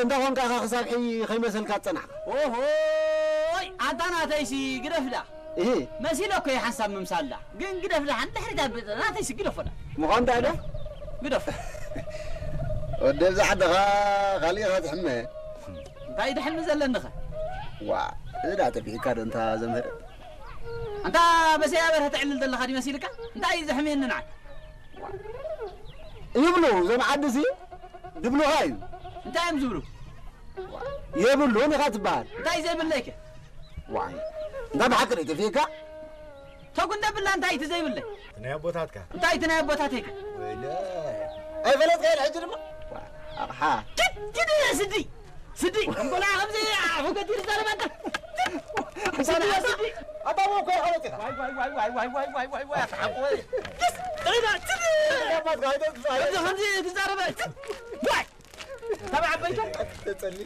እንተ ኾንካ ኸ ክሳብ ሕጂ ከይመሰልካ ዝጸናሕካ? ኦሆይ፣ ኣንታ ናተይሲ ግደፍዳ። እህ። መሲለ እኮ እየ ሓንሳብ ምምሳልዳ። ግን ግደፍዳ፣ ሓንቲ ድሕሪት ኣብ ናተይሲ ግደፎዳ። ምዃን እንታይ ዶ? ግደፍ። ወዲ ኣብዛ ዓድኻ ካሊእ ኢኻ ትሕመ። እንታይ ድሕሚ ዘለንኸ? ዋ፣ እዚ ደኣ ጠፊእካ ዶ እንታ ዘምህር? ኣንታ በሰያ በርሀ ተዕልል ዘለኻ ድዩ መሲልካ? እንታይ እዩ ዘሕምየኒ ንዓይ? ይብሉ፣ እዞም ዓድሲ ድብሉኻ እዩ። እንታይ እዮም ዝብሉ? የብሉን ኢኻ ትበሃል። እንታይ ዘይብለይከ? ዋይ፣ እንታ ብሓቂ ዶ ይጠፍኤካ? ተጉ እንደ ብላ እንታይ እቲ ዘይብለይ? ናይ ኣቦታትካ። እንታይ እቲ ናይ ኣቦታተይከ? ወይለ። ኣይፈለጥካዮን ሕጂ ድማ? ዋ፣ ኣቕሓ። ኪድ፣ ኪድ፣ ስዲ፣ ስዲ፣ እንበላ ከምዚ ኣፉ ገዲሩ ዛረባ እንተ። ስዲ፣ ስዲ። ኣታ እሞ እኮ ኣይፈለጥ ኢኻ። ዋይ፣ ዋይ፣ ዋይ፣ ኣታ ሓቆ ወይ። ኪስ፣ ጥሪዳ፣ ስዲ። ኣባትካ ኣይተጥፋ። ከምዚ፣ ከምዚ ትዛረበ፣ ስዲ። ዋይ። ተባዕ ኣበይከ? ተጸሊ።